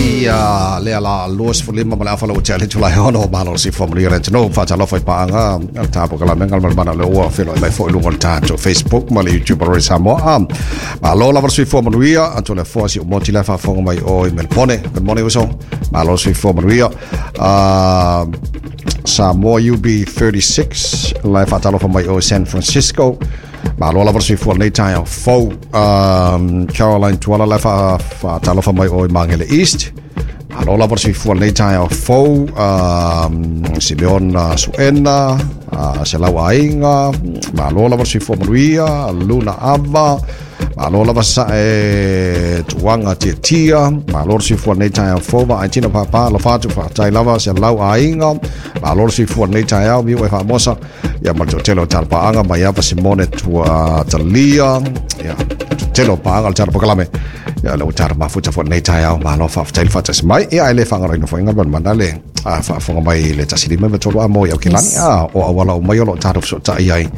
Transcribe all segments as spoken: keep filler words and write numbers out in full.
Ai lea la lua sefulu lima ma le afa ua tea le itula e ono. Malo le soifua manuia le atunuu. Faatalofa i paaga a le tatou polokalame Galumalemana o lea ua feiloai mai foi i luga o le tatou Facebook ma le YouTube o Radio Samoa. Malo lava le soifua manuia atu le afoa si umoti la faafofoga mai o i Melbourne. Good morning uso. Malo le soifua manuia. Uh, Samoa U B thirty-six la e faatalofa mai o San Francisco. Malo lava le soifua lenei taeao fou. Um, Caroline Tuala la e faatalofa mai o i Magele East. Malo lava le soifua lenei taeao fou. Um, Simeon uh, Suena, uh, Selau Aiga, malo lava le soifua manuia, Luna Ava, malo lava sa e tuanga tia tia, malo le soifua lenei taeao fou, va ai tina papa, lo fatu fatai lava Selau Aiga, malo le soifua lenei taeao, miu e faamosa, ia ma le toatele o tala mai ava Simone tua talia, ia tele o paaga o le tala polokalame. Ia le ua tala mafuta fo nei taeao, malo faafetai le faatasi mai. Ia ai le faagaloina foi Galumalemana le faafofoga mai le tasi lima ma tolu a mo i Aukilani a o auala uma o loo tatou fesootai ai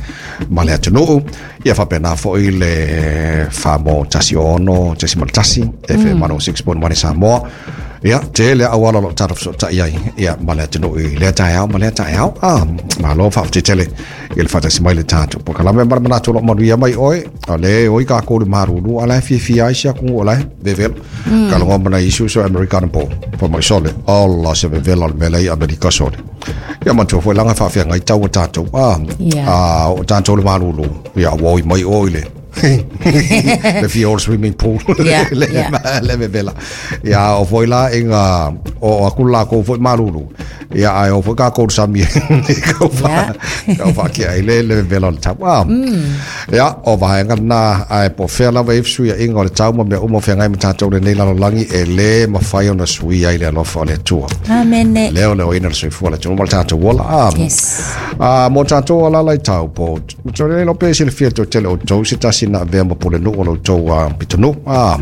ma le atunuu. Ia faapena foi le famo tasi ono tasi ma le tasi F M one oh six point one i Samoa. Ia tele auala o loo tatou fesootai ai ia ma le atunuu i lea taeao ma lea taeao. A malo faafetai tele i le faatasi mai le tatou polokalame ma le manatu o loo manuia mai oe o le oi kākou le marulu ala e fiafia ai si aku o lae vevelo kalogo mana isu so Americana po pa mai sole alla se vevela le mele i Amerika sole. Ia matua foi langa faafeagai tau o tatou a Yeah. a o tatou le malulu ia ua oi mai oi le le fia o le swimming pool Yeah, le, yeah. le vevela ia o foi la inga o aku la ko foi malulu ia ai o foi ka ko sami kau fa kau fa ki ai le le vevela o le tau a ia o vaega na ai po fea lava e sui inga o le tau ma mea uma o feagai ma tatou lenei lalolagi e lē mafai ona sui ai le alofa o le Atua. Amene. Lea o le oina le soifua le atunuu ma le tatou ola a Yes. a mo tatou alala i tau po to le lo pe se le fia to tele o tou se tasi na avea ma pule nuu o lo tou a pitonuu a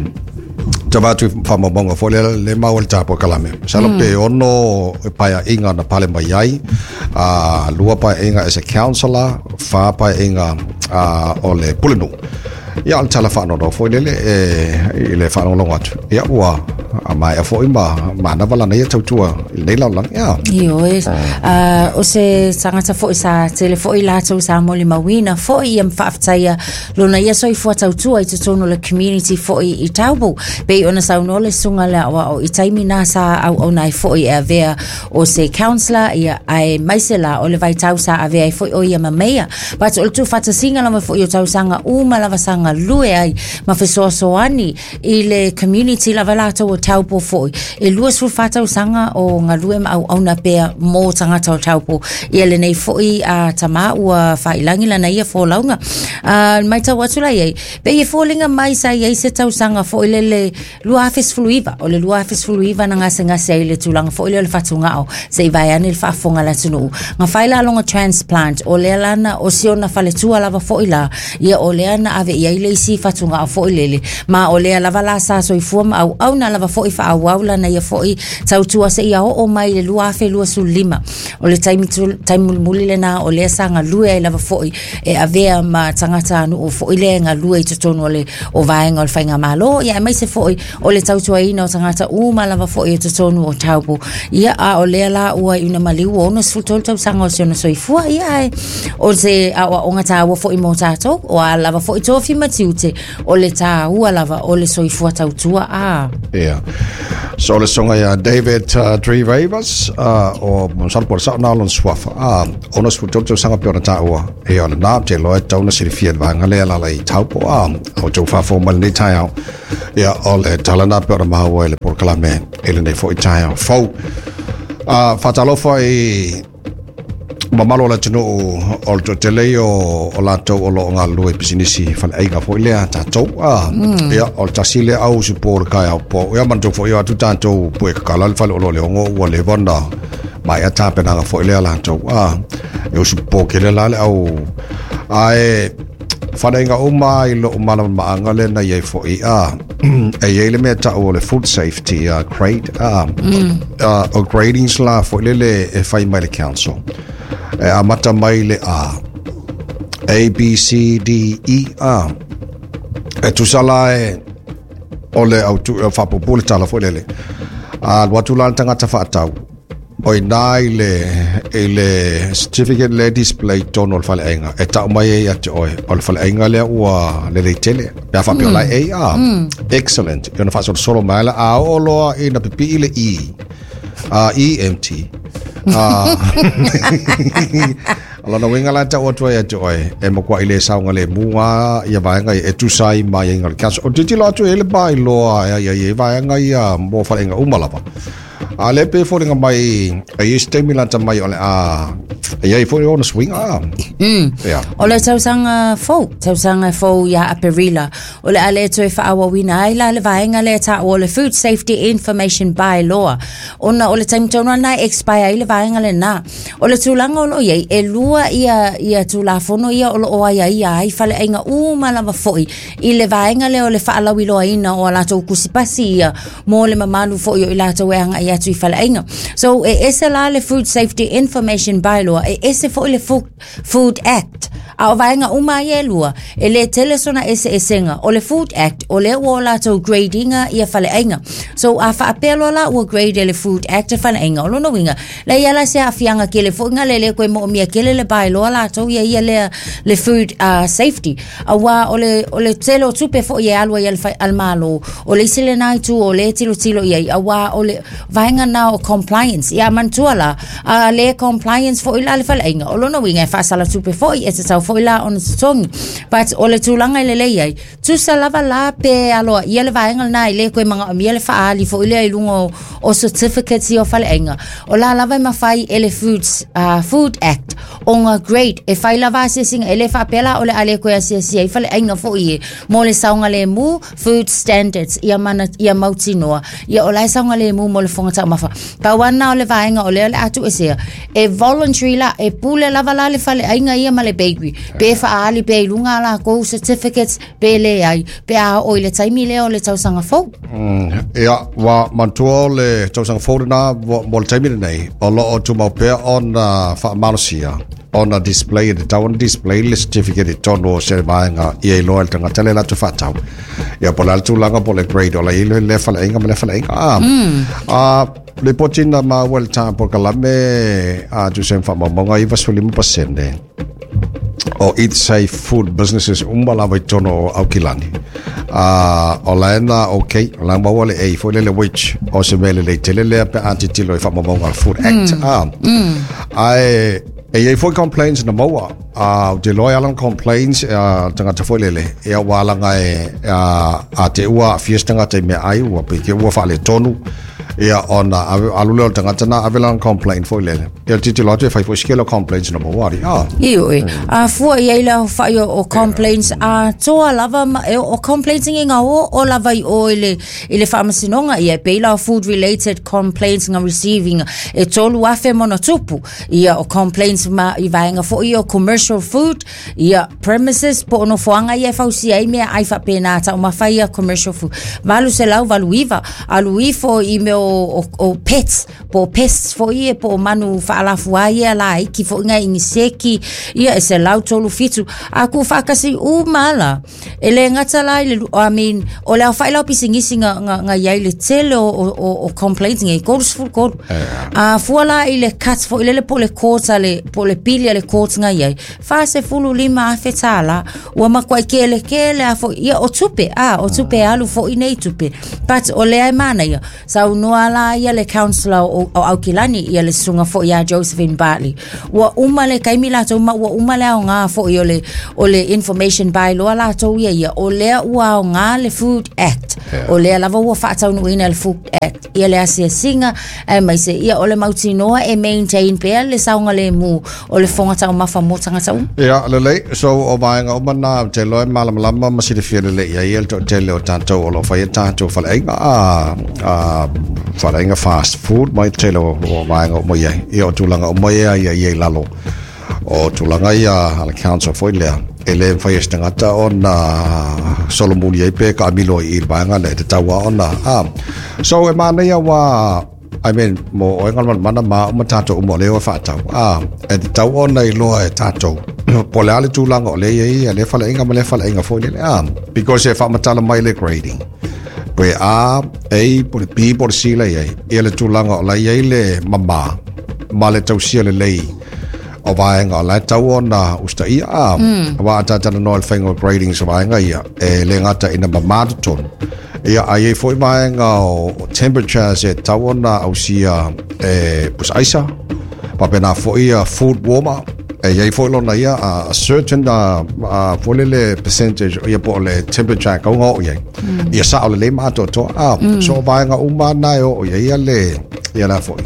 ta vatu whamamonga fo le le mau o le polokalame. Salo pe ono e paia inga na pale mai ai, a lua paia inga as a counselor, fa paia inga a o le pule nuu. Ia o le tala whaanono fo lele e i le whaalongolongo atu. Ia ua a mai a foi ma ma na wala nei tautua i nei lalolagi. Ia. Ioe, uh, o se tagata foi sa tele foi latou sa molimauina foi ia ma faafetaia lona ia soifua tautua i totonu o le community foi i Taupo. Pei ona saunoa le susuga le aoao i taimi na sa auauna ai foi e avea o se counsellor ia aemaise la o le vaitau sa avea ai foi o ia ma mayor. But o le tuufatasiga lava foi o tausaga uma lava sa galue ai ma fesoasoani i le community lava latou o Taupo foi. E lua sefulu fa tausaga o galue ma auauna pea mo tagata o Taupo. Ia lenei foi a tamā ua faailagi lana ia folauga. Uh, mai tau atu la iai, pei e foliga mai sa iai se tausaga foi lele lua afe sefulu iva, o le lua afe sefulu iva na gasegase ai le tulaga foi lea o le fatugao se i vaeane le faafofoga le atunuu. Na fai la lona transplant o lea lana o si ona faletua lava foi la, ia o lea na ave i ai le isi fatugao foi lele. Ma o lea lava la sa soifua ma auauna lava foi faaauau lana ia foi tautua se ia oo mai le lua afe lua sefulu lima. O le taimi, tu, taimi mulimuli lena o lea sa galue ai lava foi e avea ma tagata nuu foi lea galue i totonu o le o vaega o le faigamalo ia aemaise foi o le tautuaina o tagata uma lava foi i totonu o Taupo. Ia a o lea la ua iuna maliu ua ono sefulu tolu tausaga o si ona soifua ia ae o se aoaoga taua foi mo tatou o a lava foi tofi ma tiute o le taua lava o le soifua tautua a. Yeah. So le songa ia David uh, Tree Ravers uh, o masalo po o le sao na lona suafa a ono sefulu tolu tausaga pe ona taua e o le na te loa e tau na silafia le vaega lea lala i Taupo a o tou faafofoga mai lenei taeao. Ia o le tala na pe ona maua i le polokalame i lenei foi taeao fou. Uh, faatalofa i mamalo o le atunuu o le toatele ia o, o latou o loo galulue i pisinisi faleaiga foi lea tatou a mm. Ia o le tasi lea au usupo o le kaeao po ia manatua foi o atu tatou pue kakala le fale olo le ogo ua leva ona maea tapenaga foi lea latou a e usupo kele la le au ae faleaiga uma i loo malamalamaaga lea na iai foi a e iai le mea tau o le food safety uh, grade a mm. uh, o gradings la foi lele e fai mai le council e amata mai le A A B C D E A e tusa la e o le au tu faapupu le tala foi lele A alu atu la le tagata faatau o ina i le i le certificate le display tonu o le faleaiga e tau mai ai ia te oe o le faleaiga lea ua lelei tele pe a faapea o la e A excellent e ona faasolosolo mai la a oo loa ina pipii le E uh, E M T uh, o lona uiga la tau atu ai ia te oe e makuai le saoga le muga ia vaega ia e tusa ai ma aiaiga o le council o tilotilo atu e le bylaw ia ia ia vaega ia mo faleaiga uma lava a le pe foliga mai e i se taimi lata mai o le a e iai foi ona suiga. Mm. Ia. O le tausaga fou, tausaga fou ia Aperila, o le a le toe faaauauina ai la le vaega lea taua o le Food Safety Information Bylaw. Ona o le taimi tonu lena e expire ai le vaega lena. O le tulaga o loo iai, e lua ia, ia tulafono ia o loo aiaia ai faleaiga uma lava foi i le vaega lea o le faalauiloaina o a latou tusipasi ia mo le mamalu foi o i latou e agai atu i faleaiga. So e ese la le Food Safety Information Bylaw, e ese foi le Food, Food Act. A o vaega uma ia e lua, e le tele sona eseesega. O le Food Act, o lea ua o latou gradinga ia faleaiga. So a faapea loa la ua grade e le Food Act e faleaiga, o lona uiga, leai lava se aafiaga tele foi ga le le koe moomia tele le bylaw latou ia ia lea le food uh, safety. Auā o le, o le tele o tupe foi e alu ai a le fai- a le Malo, o le isi lena itu o le tilotilo i ai, auā o le vaega na o compliance. Ia manatua la, a le compliance foi la le faleaiga, o lona uiga e faasala tupe foi, e tatau foi la ona totogi. But o le tulaga e lelei ai, tusa lava la pe aloa ia le vaega lena e le koe magaomia le faaali foi lea i luga o, o certificates ia o faleaiga. O la lava e mafai e le Foods, uh, Food Act ona grade e fai lava asiasiga e le faapea la o le a le koe asiasia ai faleaiga foi e mo le saogalemu food standards ia mana ia mautinoa ia o la e saogalemu mo le fofoga taumafa. Pau lava lena o le vaega o lea o le a tuuesea e voluntary la e pule lava la le faleaiga ia ma le bakery pe faaali pea i luga a lakou certificates pe leai pe a oo i le taimi lea o le tausaga fou. Ia, ua manatua o le tausaga fou lena mo mo le taimi lenei, o loo tumau pea ona faamalosia ona display e tatau ona display le certificate i totonu o se vaega ia iloa e le tagata lea latou faatau. Ia po o le a le tulaga po o le grade o la i ai le lea faleaiga ma lea faleaiga. Ah, ah, lipoti na maua i le ta polokalame a tusa ai ma faamaumauga iva sefulu lima pasene o Eat Safe Food Businesses uma lava i totonu o Aukilani. Uh, o la e na okay, o la e maua le A foi lele which o se mea lelei tele lea pe a tilotilo i faamaumauga a le Food Act. Mm. Ah, ae e iai foi complaints na maua. Uh, ou te iloa e ala ona complaints uh, tagata foi lele, ia ua alaga e uh, a te ua aafia se tagata i meaai ua pei te ua faaletonu ia ona ave alu lea o le tagata na ave lana complaint foi lele. Ia le tilotilo atu e fai foi se kele o complaints na maua ali. Ah. Ioe, a fua i ai le aofai o, o complaints atoa lava ma, e, o complaints ngi nga o o lava i o i le, i le faamasinoga ia e pei la o food related complaints nga receiving e tolu afe ma ona tupu ia o complaints ma i vaega foi o commercial food ia premises po o nofoaga ia e fausia ai meaai faapena taumafa ia commercial food valu selau valu iva alu ifo i mea o, o, o pets po o pests foi ia po o manu faalafua ia laiti foi nga iniseki ia e selau tolu fitu a ku faakasi uma la e le gata la i le I mean o le aofai la o pisinisi nga, nga, nga iai le tele o, o, o, o complaints ngai kolu sefulu kolu a fua la i le cut foi lele po o le court a le po o le pili a le court nga iai fa sefulu lima afe tālā ua makuai kelekele a foi ia o tupe a o tupe alu foi nei tupe but o lea e manaia saunoa la ia le councillor o, o Aukilani ia le susuga foi ia Josephine Bartley ua uma le taimi latou ma ua uma le aoga foi o le o le information bylaw latou ia ia o lea ua aoga le Food Act o lea lava ua faataunuuina le Food Act ia le asiasiga aemaise ia o le mautinoa e maintain pea le saogalemu o le fofoga taumafa mo tagata uma. Ia, lelei, so o vaega uma na, ou te iloa e malamalama ma silafia lelei i ai le toatele o tatou o lo o faia tatou faleaiga, a, a, faleaiga fast food mai tele o, o vaega uma i ai. Ia, o tulaga uma ia ia ia i lalo o tulaga ia a le council foi lea, e le mafai e se tagata ona solomuli ai pe kaamilo ai i le vaega lea, e tatau lava ona, a. So e manaia ua I mean, mo oe Galumalemana ma au ma tatou uma o lea e faatau, a, e tatau ona iloa e tatou po o le a le tulaga o lea e i ai ia lea faleaiga ma lea faleaiga foi lele, a, because e faamatala mai le grading. Pe A, A, po le B, po le C la iai. Ia le tulaga o la iai le mamā ma le tausia lelei o vaega o la e tatau ona usitaia a. Auā a tatalanoa i le faiga o gradings o vaega ia, e le gata ina mamā totonu. Ia a i ai foi vaega o temperatures e tatau ona ausia e pusaaisa, faapena foi ia food warmer, e i ai foi lona ia a certain uh, foi lele percentage ia po o le temperature e kauga oo i ai. Ia sao lelei ma atoatoa a. So o vaega uma na e oo i ai ia le ia la foi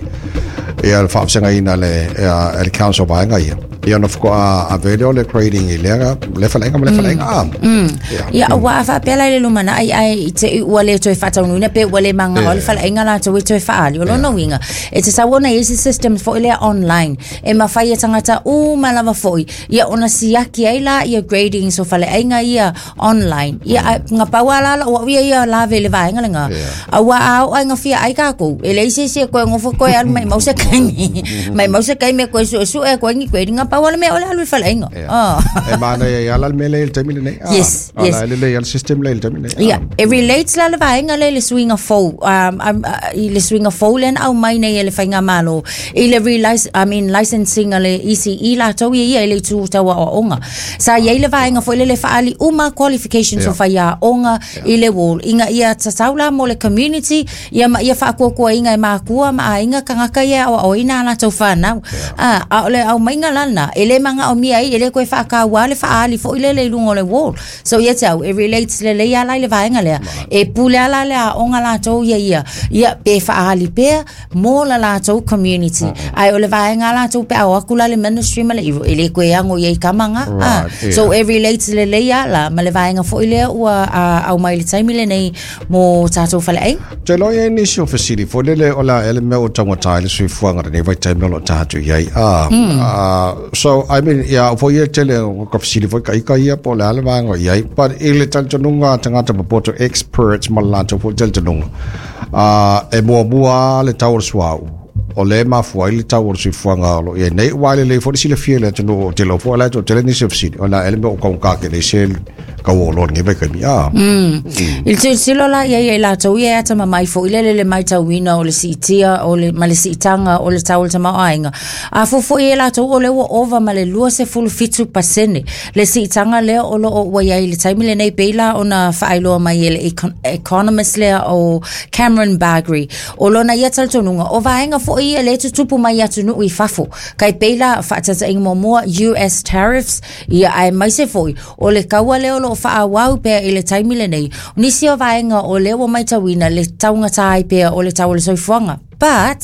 ia le faafesagaina le ia le council vaega ia. Ia ona faatoa ave lea o le grading i lea le faleaiga ma le faleaiga a. Ia. Ia, ua a faapea la i le lumanai ae i te i ua le toe faataunuuina pe ua le magao le faleaiga latou e toe faaali. O lona uiga, e tatau ona i ai se system foi lea online e mafai e tagata uma lava foi ia ona siaki ai la ia gradings o faleaiga ia online. Ia ae gapau lava la lau au ia ia lave i le vaega lena. Auā a oo ai gafia ai tatou, e leai se isi e koe gofo koe alu maimau se taimi, maimau se taimi e koe suesue e koe ni grading. Gapau lava le mea o le alu i faleaiga. E manaia ai lava la le mea lea i le taimi lenei. Yes, yes. O la e lelei lava le system lea i le taimi lenei. Ia, e relates la le vaega lea i le suiga fou, um, um, i le suiga fou lea na aumai nei e le Faigamalo i le relic, I mean, licensing a le E C E latou ia ia i le itu tau aoaoga. Sa i ai le vaega foi lele faaali uma qualifications o faiaoga i le wall, ina ia tatau la mo le community, ia ma ia faakuakuaina e makua ma aiga tagata ia e aoaoina a latou fanau. A, a o le aumaiga la lena, e le magaomia ai, e le koe faataua le faaali foi lele i luga o le wall. So ia te au, e relates lelei lava la i le vaega lea. E pule lava la le aoga latou ia ia, ia pe faaali pea mo la latou community. Ae o le vaega latou pe a o atu la le ministry ma le ivo, e le koe ago i ai kama nga. Right, yeah. So e relates lelei lava la ma le vaega foi lea ua aumai i le taimi lenei mo tatou faleaiga. Te iloa i ai nisi o fesili foi lele o le a ea le mea ua taugata ai le soifuaga lenei vaitaimi o lo o tatou i ai. Ah, ah, so I mean, ia au foi ia tele o ka fesili foi ka ika ia po o le a le vaega o i ai. But i le talitonuga a tagata popoto experts ma le latou foi talitonuga, ah, e muamua le tau o le suauu. O le mafua ai le tau o le soifuaga o lo o i ai nei, aua e lelei foi le silafia i le atunuu o tele o foi la e toatele nisi o fesili, o le a ea le mea ua taugata tele ai se kau o oloa i lenei vaitaimi. Ah. I le tilotilo la i ai e latou ia e atamamai foi lele le matauina o le siitia o le, ma le siitaga o le tau o le tamaoaiga. A fuafua i ai latou o lea ua ova ma le lua sefulu fitu pasene le siitaga lea o loo ua i ai i le taimi lenei pei la ona faailoa mai e le economist lea o Cameron Bagrie. O lona ia talitonuga o vaega foi ia le tutupu mai atunuu i fafo. Kai pei la faataitaiga muamua U S tariffs ia aemaise foi o le kaua lea o loo faaauau pea i le taimi lenei. O nisi o vaega o lea ua matauina le taugata ai pea o le tau o le soifuaga. But,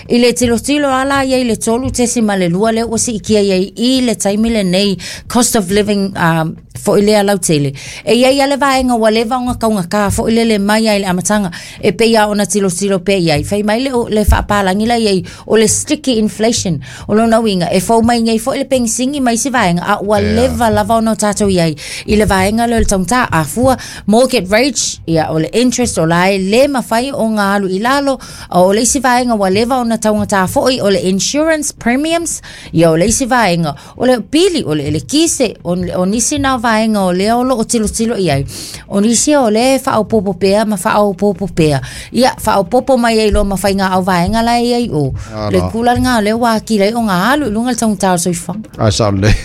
i le tilotilo ala ia i le tolu tesi ma le lua lea ua siikia iai i le taimi lenei cost of living um, foi lea lautele. E iai ale vaega ua leva ona taugata foi lele mai ai le amataga e pei lava ona tilotilo pea iai. Fai mai le, le faapalagi la iai o le sticky inflation. O lona uiga e fou mai nei foi le pegisigi mai isi vaega a ua leva lava ona o tatou iai i le vaega lea o le taugata. A fua mortgage rate ia o le interest o la e le mafai ona alu i lalo. O le isi vaega ua leva ona taugata foi o le insurance premiums ia o le isi vaega o le pili o le elekise o, o nisi na vaega o lea o loo tilotilo i ai. O nisi o le faaopoopo pea ma faaopoopo pea. Ia faaopoopo mai ai loa ma faiga au vaega la e ai o. Le tulaga o lea ua atili ai ona alu i luga le taugata o le soifuaga. Ai sao lelei.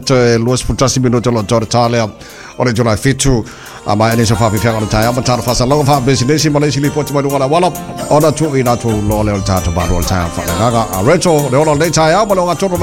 Toe lua sefulu tasi minuta o loo toa le tā lea o le July fitu. A mai ane sa whawhiwhianga o le taeao ma tāna whaasalaga whaapesineisi ma le isi lipoti mai luga le auala. Ona tuu i nā tuu loa lea o le tātou maru o le taeao whaaleagaga. A Rachel, le ola o lenei taeao ma le ogatonu.